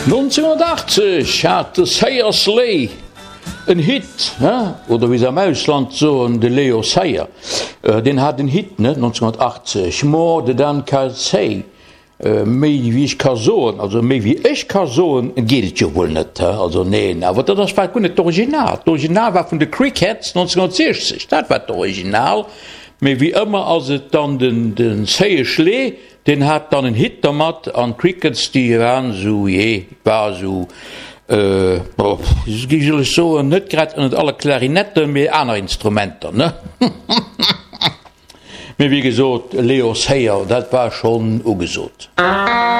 1980 hat de Sayer Slay en Hit, he? Oder wéi se am Ausland soen, de Leo Sayer, deen hat en Hit, ne, 1980, More Than I Can Say. Méi wéi ech ka soen, also méi wéi ech ka soen, geet et jo wuel net, he? Also neen, awer dat ass war guer net d'Original. D'Original war vun de Crickets 1960, dat war d'Original. Mee wéi ëmmer ass et dann den de Sayer Schlé, deen hat dann en Hit dermat an d'Crickets déi waren esou, jee, et war esou, wéi soll ech soen, net grad ënnert alle Klarinetten, mee aner Instrumenter, ne? Mee wéi gesot, Leo Sayer, dat war schonn ugesot.